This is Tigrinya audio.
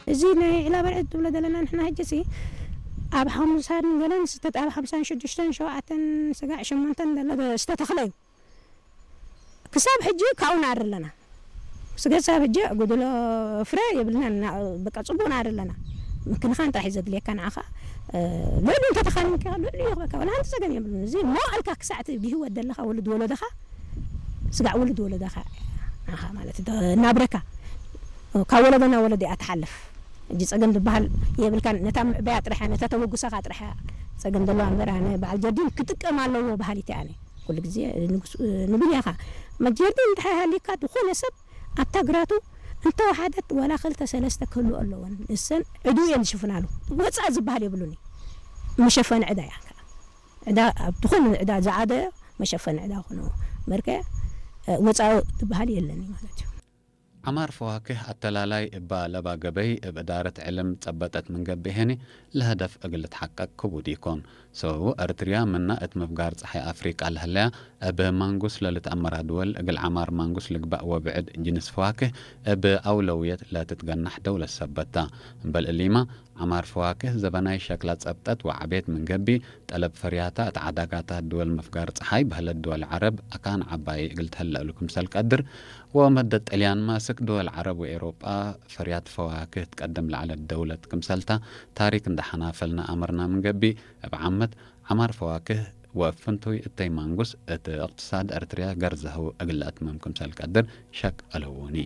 እዚ ናይ ዒላ በርዒ ትብሎ ዘለና ንሕና ሕጂ ሲ ኣብ ሓሙሳን ገለን ዝተት ኣብ ሓምሳን ሽዱሽተን ሸውዓተን ስጋዕ ሸሞንተን ዘሎ ዝተተኽለ እዩ። ክሳብ ሕጂ ካብኡ ንኣሪ ኣለና። ስገ ክሳብ ሕጂ ጎደሎ ፍረ የብልና። በቃ ጽቡቅ ንኣሪ ኣለና። ምክንኻን ጥራሕ እዩ ዘድልየካ ንዓኻ። ልዕሊ እንተተኻኒንካ ልዕሊ ይኽበካ፣ ወላ ሓንቲ ጸገም የብሉን። እዚ መዋእልካ ክሳዕ እቲ ብህይወት ዘለኻ ወልድ ወለደኻ ስጋዕ ወልድ ወለደኻ ንዓኻ ማለት ናብረካ ካብ ወለዶ ናብ ወለዶ እያ ትሓልፍ። እጂ ጸገም ዝበሃል የብልካን። ነታ ምዕበያ ጥራሕ እያ፣ ነታ ተበጉሰኻ ጥራሕ እያ ጸገም ዘለዋ እምበር፣ ኣነ በዓል ጀርዲን ክጥቀም ኣለዎ በሃሊት እያ። ኣነ ኩሉ ግዜ ንጉስ ንብል ኢኻ። መጀርዲን እንድሕር ሃሊካ ዝኾነ ሰብ ኣብታ ግራቱ እንተወሓደት ዋላ ክልተ ሰለስተ ክህሉ ኣለወን። እሰን ዕዱ እየን ዝሽፍናሉ። ወፃእ ዝበሃል የብሉን እዩ። መሸፈኒ ዕዳ እያ። ዕዳ ኣብ ዝኾነ ዕዳ ዝዓደ መሸፈኒ ዕዳ ኾነ መርከ ወፃእ ዝበሃል የለን ማለት እዩ። ዓማር ፈዋክህ ኣተላላይ እባ ለባ ገበይ እብ እዳረት ዕልም ጸበጠት ምን ገብእ ሄኒ ለህደፍ እግል ልትሓቀቅ ክቡድ ኢኮን። ሰበቡ እርትርያ ምና እት ምፍጋር ጸሓይ ኣፍሪቃ ለህለያ እብ ማንጉስ ለልትአመራ ድወል እግል ዓማር ማንጉስ ልግባእ ወብዕድ ጅንስ ፈዋክህ እብ አውለውየት ለትትገናሕ ደውለት ሰበታ። እምበል እሊማ ዓማር ፈዋክህ ዘበናይ ሸክላ ጸብጠት ወዓቤት ምን ገቢ ጠለብ ፈርያታ እት ዓዳጋታት ድወል ምፍጋር ጸሓይ በህለት ድወል ዓረብ አካን ዓባይ እግል ተህለእሉ ክምሰል ቀድር ወመደት ጥልያን ማስክ ድወል ዓረብ ወኤሮጳ ፈርያት ፈዋክህ ትቀድም ለዐለት ደውለት ክምሰልታ ታሪክ እንዳ ሐናፈልና አመርና ምን ገቢ እብ ዓመት ዓማር ፈዋክህ ወፍንቱይ እተይ ማንጉስ እት እቅትሳድ እርትርያ ገርዘህው እግል ለአትምም ክምሰል ቀድር ሸክ አልህውኒ።